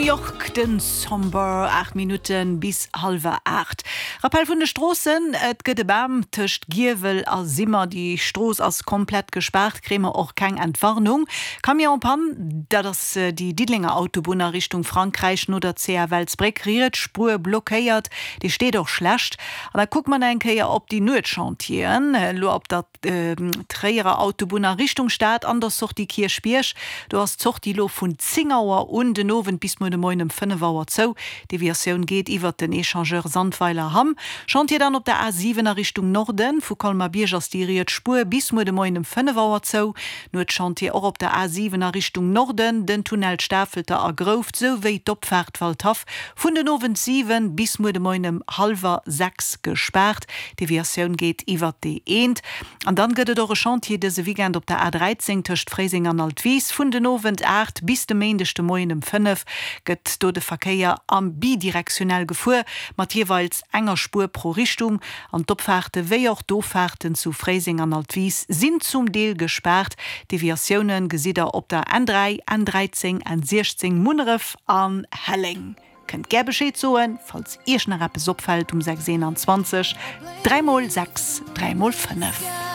York, den Somber, 8 Minutten bis hallwer 8. Rappell vun de Stroossen, Et gëtt e Bam tëscht Giewel a Simmer. Déi Strooss ass komplett gespaart, kréie mer och keng Entwarnung. Camion en panne, dat ass déi Diddelenger Autobunn a Richtung Frankräich no der CA Welsbréck, riets Spuer blockéiert, déi steet och schlecht. An da kucke mer nach eng Kéier op déi Nuetschantieren elo op der. Tréierer Autobunn a Richtung Stad an der Sortie Kierchbierg. Do ass d'Sortie lo vun 10 Auer un den Owend bis muer de Moien ëm 5 Auer zou. Deviatioun geet iwwert den Echangeur Sandweiler-Hamm. Chantier dann op der A 7 a Richtung Norden. Vu Colmar-Bierg ass déi riets Spuer bis muer de Moien ëm 5 Auer zou. Nuetschantier och op der A 7 a Richtung Norden, den Tunnel Stafelter a Grouft souwéi d'Opfaart Waldhaff vun den Owend 7 bis muer de Moien ëm hallwer 6 gespaart. D'Deviatioun geet iwwert déi eent. An dann gëtt et och e Chantier dëse Weekend op der A 13 tëscht Fréiseng an Altwis. Vun den Owend 8 bis de Méindeg de Moien ëm 5 gëtt do de Verkéier am bidirektionell gefuer, mat jeeweils enger Spuer pro Richtung. An d'Opfaarte wéi och d'Offaarten zu Fréiseng an Altwis sinn zum Deel gespaart. Deviatioune gesitt der op der N3, N13, N16, Munneref an Helleng. Kënnt gär Bescheed soen, falls Iech nach eppes opfält um 6 21 3 mol 6 3 mol 5.